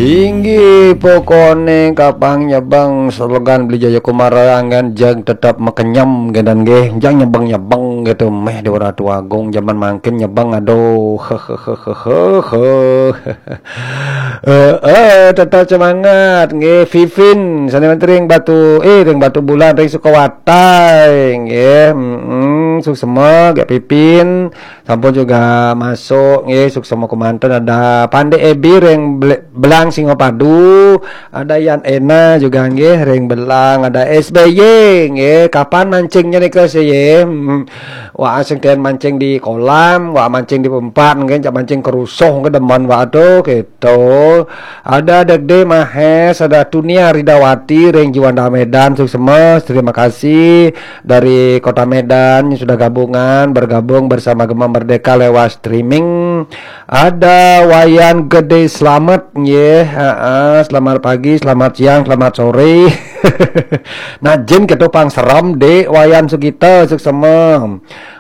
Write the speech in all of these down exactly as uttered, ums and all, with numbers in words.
Inggih pokone kapang nyebeng slogan Beli Jaya Kumara anggen jeg tetep makenyem gedan nggih. Jang nyebeng-nyebeng gitu meh di Ratu Agung zaman mangkin nyebeng aduh. Hehehe. Eh, eh, tetap semangat nggih Vivin sane ring Batu eh ring Batu Bulan ring Sukawatai nggih. Mm, suksema gak Pipin. Sampun juga masuk nggih, suksema kemanten. Ada Pande Ebi ring Bel- Belang Singapadu, ada Yan Ena juga nggih ring Belang, ada S B Y nggih. Kapan mancingnya nih ke sih? Hmm. Wah, sing ten mancing di kolam, wah mancing di empat nggih, cak mancing kerusuh ke demen wah tuh gitu. Ada Degde Mahes, ada Tunia Ridawati ring Juanda Medan, suksema, terima kasih dari Kota Medan yang sudah gabungan bergabung bersama Gema Merdeka lewat streaming. Ada Wayan Gede Slamet nggih. Heeh, selamat pagi, selamat siang, selamat sore. Nah, jin ketopang seram Dek Wayan Sugita suksema.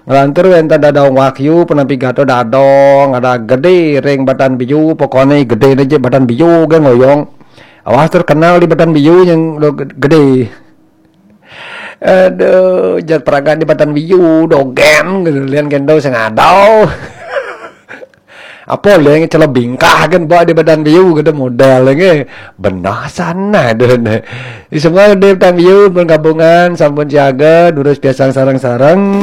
Ngelantur wenten Dadong Wahyu penampi gato Dadong, ada Gede ring Batan Biu, pokone gede aja Batan Biu ge ngoyong. Awas terkenal di Batan Biu yang lo gede. Aduh, jat peragat di Batan Biu dogen gitu. Lian kendo sing ada. Apa lian celebingkah kan bawa di Batan Biu gitu model nggih. Benah sana deh. Semua di Batan Biu pun gabungan sampun siaga durus biasa sarang-sarang.